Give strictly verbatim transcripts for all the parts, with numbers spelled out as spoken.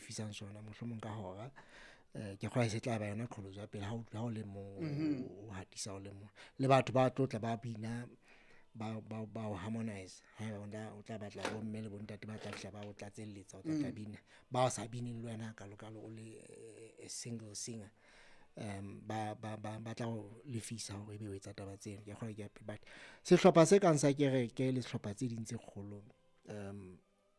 lefisang sona mohlomong ka hora. Eh, ke kgolwa e se tla ba yona qholotso ya pele ha o ha o le mong, o hatisa o le mong. Le batho ba tlo tla ba bina, ba ba ba o harmonize. Haeba o tla o tla batla bomme le bontate ba tla fihla ba o tlatselletsa, o tla tla bina. Ba sa bineng le wena hakalo-kalo o le a single singer. Um ba ba ba ba tla o lefisa hore ebe o etsa taba tseno. Ke kgolwa ke ya but sehlopha se kang sa kereke le sehlopha tse ding tse kgolo, um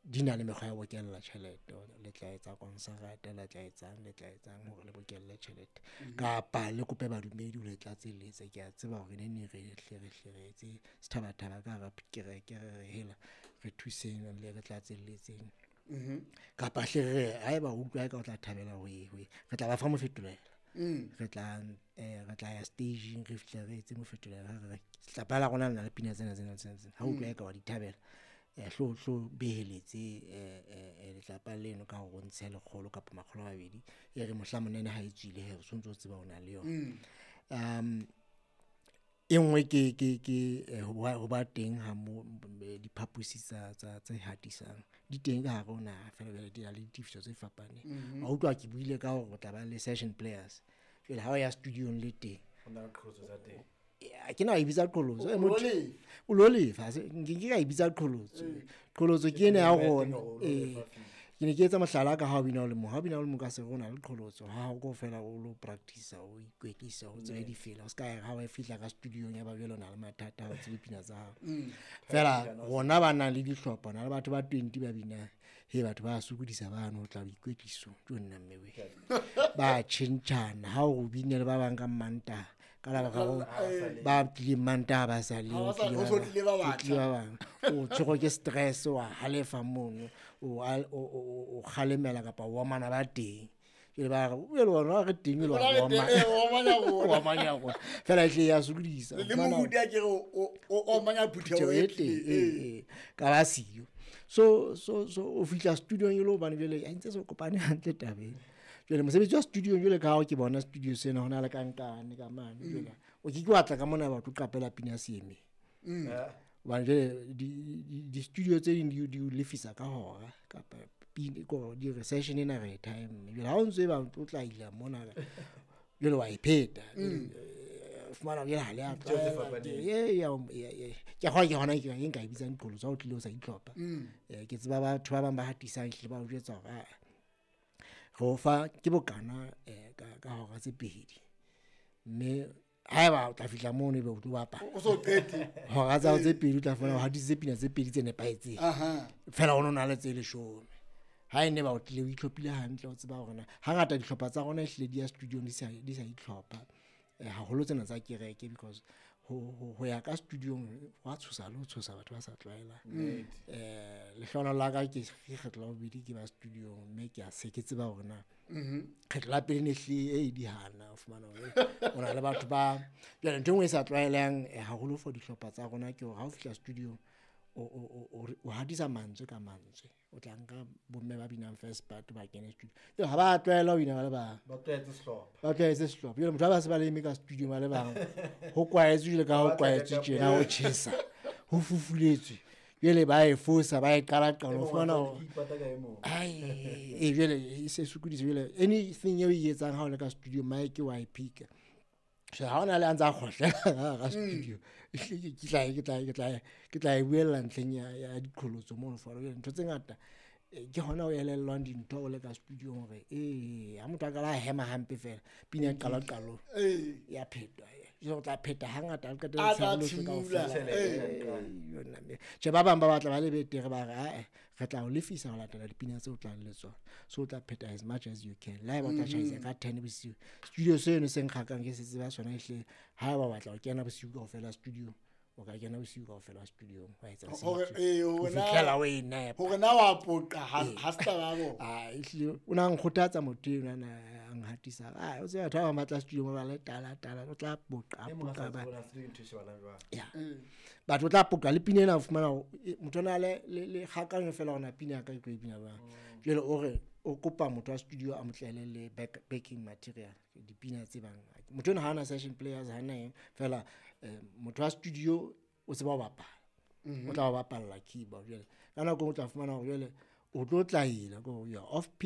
di na le mekgwa ya ho bokella tjhelete. Le tla etsa konsarata, le tla etsang, le tla etsang hore le bokelle tjhelete. Kapa le kope badumedi ho le tlatselletsa. Ke a tseba hore neneng re hle re hle re etse sethabathaba ka hara kereke, re re hela re thuseng le re tlatselletseng. Kapa hle re re haeba o utlwa eka o tla thabela ho e, ho e, re tla ba fa mofetolelo. Re tla eh re tla ya stageng, re fihle re etse mofetolelo, re re sehlopha la rona le na le pina tsena tsena tsena tsena. Ha o utlwa eka wa di thabela, eh hlo hlo beheletse eh eh letlapa leno ka hore o ntshe lekgolo kapa makgolo a mabedi, e re mohlang monene ha e tswile hee, o sontso o tseba o na le yona. Um e nngwe ke ke ke ho ba ho ba teng ha mo diphaposi tsa tsa tse hatisang di teng ka hare ho naha, feela jwale di na le ditefiso tse fapaneng. Wa utlwa ke buile ka hore o tla ba le session players. Jwale ha o ya studio-ong le teng, Ho na le qholotso tsa teng. ha ke na e bitsa qholotso. O Eh, lo motho lefa. o lo lefa, ha se nke ke ka e bitsa qholotso. Qholotso ke ena ya rona. Eh, ke ne ke etsa mohlala ka ha o bina o le mong. Ha o bina o le mong ka se re o na le qholotso, ha o kaofela o lo practice, o ikwetlisa, o tsebe difela. O ska ya ha o fihla ka studio-ong ya ba jwale o na le mathata, ha o tsebe pina tsa hao. Feela rona ba nang le dihlopha, na le batho ba twenty ba binang, he batho ba sokodisa bano ho tla boikwetlisong. Tjo nna mme we. Ba tjhentjhana ha o bine le ba bang ka Mantaha, ka lebaka la hore ba tlileng Mantaha ba sa le, Ha ba sa- ho ho so tlile ba ho batjha. tlile ba bang. O tshwerwe ke stress, wa halefa mono, o al-, o, o, o, o kgalemela kapa o omana ba teng. Jwale ba re, o le wena re teng, le wa Rona re teng, omana. eh, o omanya rona. O omanya rona. Feela e hle ya sokodisa. Le O fumana moruti a ke re o, o, o omanya phutheho phutheho e e teng, tlileng, eh, eh, ka ba siyo. So, so, so o fihla studio-ong e le hobane jwale ha ntse se o kopane hantle tabeng. Jwale mosebetsi wa studio jwale ka ha ke bona studio sena hona le kankane ka mane jwale. O ke ke wa tla ka mona batho qapela pina seemeng. Hobane jwale di, di, di studio tse ding di, di o lefisa ka hora kapa pina, ko di re session ena re e time. Jwale ha o ntso e ba o tla ila mona, jwale wa e pheta. Eh, fumana jwale ha le a Ditjeho tse tlwaela. fapaneng. Ye, ya, ya, ya. Ke kgolwa ke hona ke e nka e bitsang qholotso ha o tlile o sa itlhopha. Eh, ke tseba batho ba bang ba hatisang ehlile ba o jwetsa hore, ah, re o fa ke bokana, eh, ka, ka hora tse pedi. Mme haeba o tla fihla mono ebe o tlo bapala. O so qete. Hora tsa hao tse pedi o tla fumana o hatisitse pina tse pedi tse nepahetseng. Aha. Feela o no na le tse leshome. Ha e ne ba o tlile o itlhophile hantle, o tseba hore na hangata dihlopha tsa rona ehlile di ya studio-ong di sa, di sa itlhopha. Eh, haholo tsena tsa kereke because ho, ho, ho ya ka studio-ong ho a tshosa le ho tshosa batho ba sa tlwaelang. Eh, lehlohonolo la ka ke kgetlo la bobedi ke ba studio-ong, mme ke a se ke tseba hore na kgetlo la pele ne hlile e di hana, o fumana hore o na le batho ba jwale ntho e nngwe e sa tlwaelehang, eh, haholo for dihlopha tsa rona ke hore ha o fihla studio-ong o, o, o, o, o hatisa mantswe ka mantswe. O tla nka bomme ba binang first part ba kene studio. Jwale ha ba tlwaela ho bina ba le bang. Ba tlwaetse sehlopha. Ba tlwaetse sehlopha. Jwale motho ha ba se ba le eme ka studio ba le bang, ho kwaetswe jwale ka ha ho Ba tla kwaetswe ka tjena, ho tjhesa, ho fufuletswe. Jwale ba e fosa, ba e qala qala, E o mong fumana wa hore tsona ke ipata ka e mong. Ai, e jwale e se sokodisa. Jwale anything eo e etsang ha o le ka studio, mic wa e pick-a. So ha ona le a ntsa kgohlela ka hara studio, ke tla, ke tla, ke tla, ke tla e buella ntlheng ya, ya diqholotso mono for jwale ntho tse ngata, eh, ke hona o elellwang dintho o le ka studio hore, eh, ha motho a qala a hema hampe fela, pina e qala qalong. Eh. Ya phetwa, eh. Jwale o tla pheta hangata, o qetelle A tla tshebeletso thimula. kaofela. Eh. Eh, yona mme. Tjhe, ba bang ba batla ba le betere, ba re, ah, eh, re tla o lefisa ho latela dipina tseo o tlang le tsona. So o tla pheta as much as you can. Le haeba o tla tjhaisa ka ten bosiu. Studio seno se nkgakang ke se tseba sona ehlile, haeba o batla ho kena bosiu kaofela studio, o ka kena bosiu kaofela studio, wa etsa se Hore, itseng. eh, Ho hore na fihlela o e nepa. Hore na wa poqa, ha, Eh. ha se taba ya bona. Ah, ehlile, o na nkgothatsa motho enwa na a nhatisa. Ah, o tseba batho ba bang ba tla studio ba le tala, tala, o tla poqa, E mong a sa poqa ba. tsebe hore na studio ke ntho e shebahalang jwang. Ya. Batho o tla poqa le pina ena, o fumana hore, e, motho o na le, le, le kgakanyo fela hore na pina ya ka ke tlo e bina jwang. Jwale o re, o kopa motho wa studio a mo tlele le back, backing material, dipina tse bang. Motho enwa ha ana session players, ha ana eng, fela, eh, motho wa studio o tseba ho bapala. O tla o bapalla keyboard jwale. Ka nako e nngwe o tla fumana hore jwale o tlo tlaela, ke hore you are off pitch.